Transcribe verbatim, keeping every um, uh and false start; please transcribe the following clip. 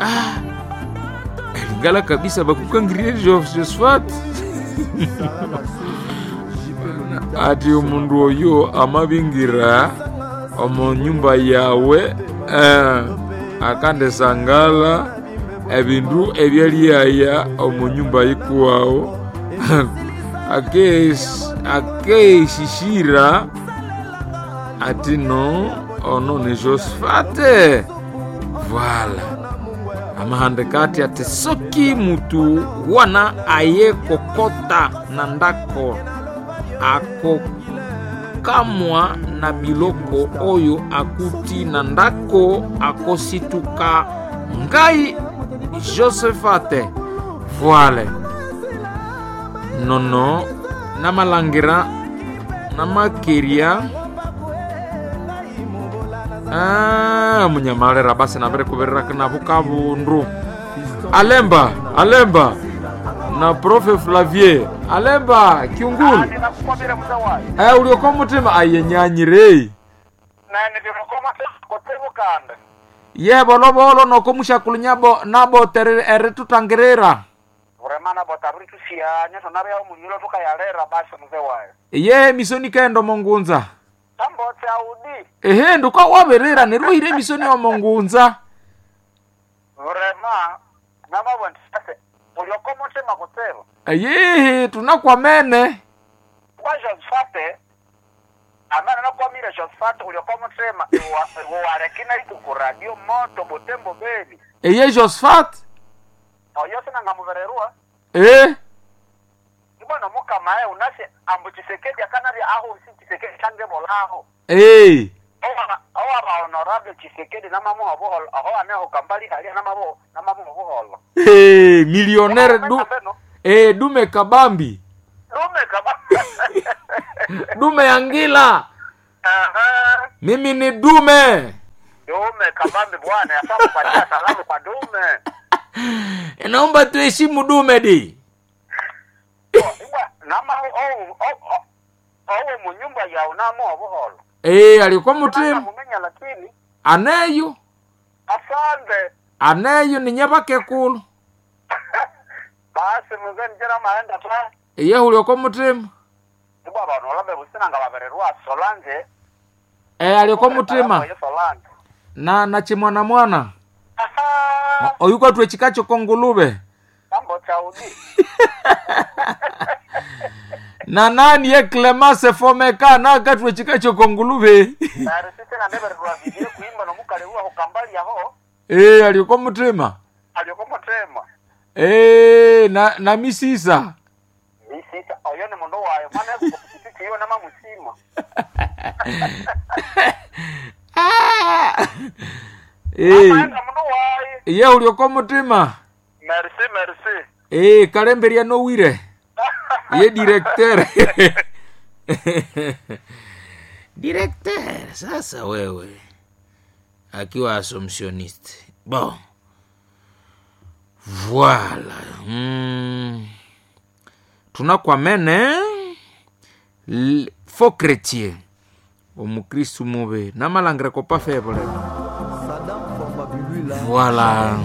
Ah, elingala kabisa bakukangirye Josephat ati omundu oyo amabingira omu nyumba yawe eh, akandisangala ebindu ebyaliaya omu nyumba yikuwawu akeishishira ati no ono ni Josphate voila amahandika ati ati soki mutu wana aye kokota na ndako akokamwa na biloko oyo akuti na ndako akosituka ngai Josphate voile nono namalangira namakeria Ah, munyamalera basi nabirikuvirira navo kavundu alemba alemba na profe Flavier alemba kiungulu ndinakukwamira muza wayo eh, ulioko mutima ayenyanyire nene ndinokomakotsevukanda ye volovolo noko mushakulu nyabo nabo tere eritutangirira vremana bota ritusianya tonavya mulilo tukayalera basi muze wayo ye misoni kaendo mongunza tambotse audi ehe nduka wavirira neruhire emisoni wa mongunza vrema namavonditase ulioko mutima kutseva ayehe tunakwamene kwa Josphate amana nakwamire Josphate ulioko mutima uwarekina ikuku radio moto butembo beni eye Josephat oyo sinangamuvererua eh ibona mukamae unasi ambu Chisekedi akanavya aho si Chisekedi changebolaho eh owa honorable Chisekedi namamuha buholo aho aneho kambali halia namabo namamuha buholo eh millionaire du Beno, eh dume kabambi dume kaba dume yangila Aha. mimi ni dume dume kabambi bwana yafaa kupatia salamu kwa dume naomba tuheshimu dume di Ibwa, nama owu owu munyumba yawu namuha buholo eh alikuwa mutima mumenya lakini aneyo asante aneyo ni nyabakekulu basi muze njira maenda ta eye ulioko mutima ibwa abantu olabe businanga babererwa solange eh alikuwa mutima Oyo solange na na chimwana mwana aha oyuko twe chikacho kongulube tambo chaudi na nani ye Clemence Fomeka na katwe chikacho kongulube narisise na nebererwa vivire kuimba nomukalewa hukambali yaho eh alikuwa mutima alioko mutema eh na na misisa misisa oyo ni mundu wayo mwana kupikipiki iyo namamusima ah eh amaenda mundu wayo ye ulioko mutima merci merci eh kalemberia nowire ye directeur directeur sasa wewe akiwa assumptioniste bon voilà mm. tunakwamene l- faux chrétien omukristu mube namalangira kopa feble Saddam Formabilula voilà